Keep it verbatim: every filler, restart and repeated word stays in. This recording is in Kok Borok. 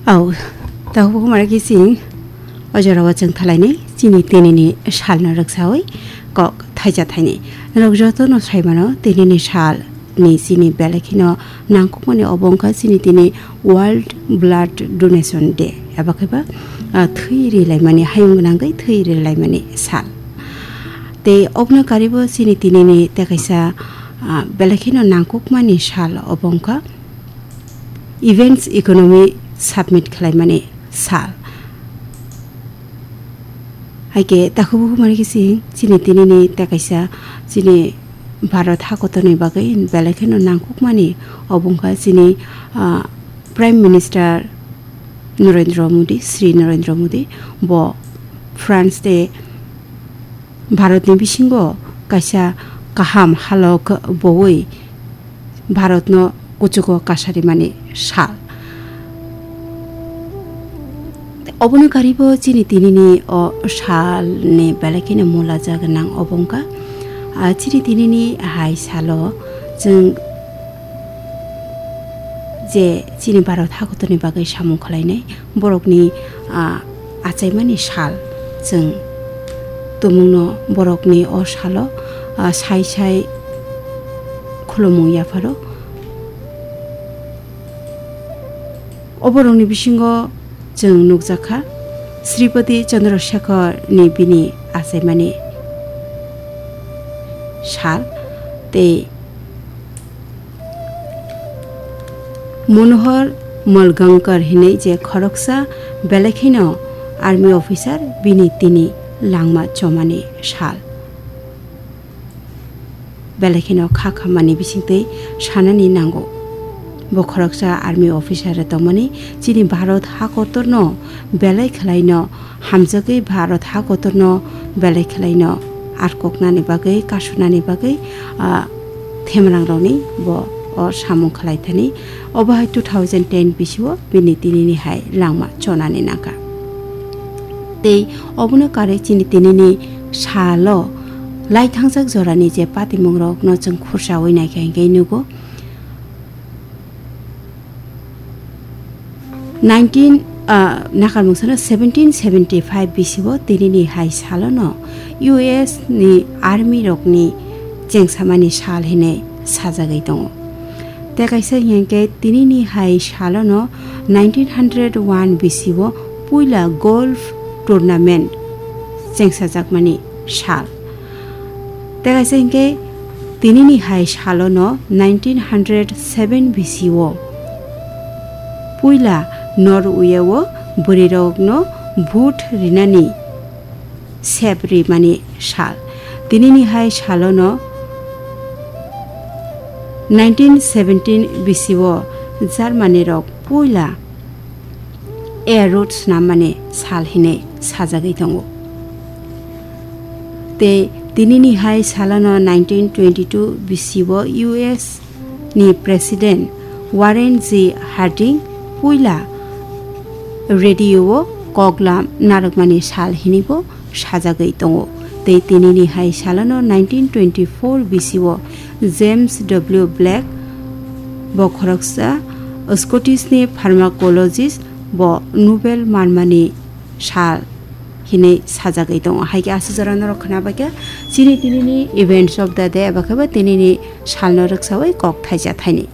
Au, tabuk mara khe chwng o jorao chwng thalainai chini tinini salno rwksawi kok thaisa thainwi. Norok jotono saimano tinini salni chini belai kheno nangkukmani obo wngkha chini tini World Blood Donation Day, eba khe ba, ah, thwi rilaimani, hayung gwnangwi thwi rilaimani sal. Tei obono karibo chini tinini tei kaisa, ah, belai kheno nangkukmani sal obo wngkha Events Economy Submit khlaimani sal. Hai khe takhuk bukhuk mani khe chini, chini tinini tei kaisa chini Bharat hakotorni bagwi belai kheno nangkukmani obo wngkha chini, ah, Prime Minister Narendra Modi, Shri Narendra Modi, bo France tei Bharatni bisingo kaisa kaham halok bowi Bharatno kuchugo kasarimani sal. Obono karibo chini tinini o salni belai kheno mula ja gwnang obo wngkha. Ah, chini tinini hai salo chwng je chini Bharat hakotorni bagwi samung khlainai borokni, ah, achaimani sal chwng tumungno borokni o salo, ah, sai sai khulumung yapharo. O borokni bisingo chwng nukjakha Sripati Chandrasekharni bini achaimani sal tei Manohar Malgankar hinwi je khoroksa belai kheno army officer bini tini langma chomani sal. Belai kheno kha khammani bisingtwi sanani nango. Bo khoroksa army officer tongmani chini Bharat hakotorno belai khwlaino hamjagwi Bharat hakotorno belai khwlaino arkoknani bagwi, kasunani bagwi, ah, themrangrokni bo o samung khlai thani. Obo hai two thousand ten bisio bini tinini hai langma chonani nangkha. Tei obono karwi chini tinini salo laithangjak jorani je patimungrokno chwng khursaui naikha hinkhe nugo. Nineteen, ah, nakarmungsano seventeen seventy five bisio tinini hai salono U S ni army rokni chengsamani sal hinwi sajagwi tongo. Tei kaisa hinkhe tinini hai salono nineteen hundred one bisio puila golf tournament chengsajakmani sal. Tei kaisa hinkhe tinini hai salono nineteen hundred seven bisio puila Norway o bwrwirokno vote rinani sep rimani sal. Tinini hai salono nineteen seventeen bisio Germany rok puila air road snammani sal hinwi sajagwi tongo. Tei tinini hai salono nineteen twenty two bisio U S ni President Warren G Harding puila radio o koklam narwkmani sal hinwibo sajagwi tongo. Tei tinini hai salono nineteen twenty four bisio James W Black bo khoroksa Scottish ni pharmacologist bo Nobel manmani sal hinwi sajagwi tongo. Hai khe aswk jora norok khwna bai khe chini tinini events of the day eba khe bo tinini salno rwksaui kok thaisa thaini.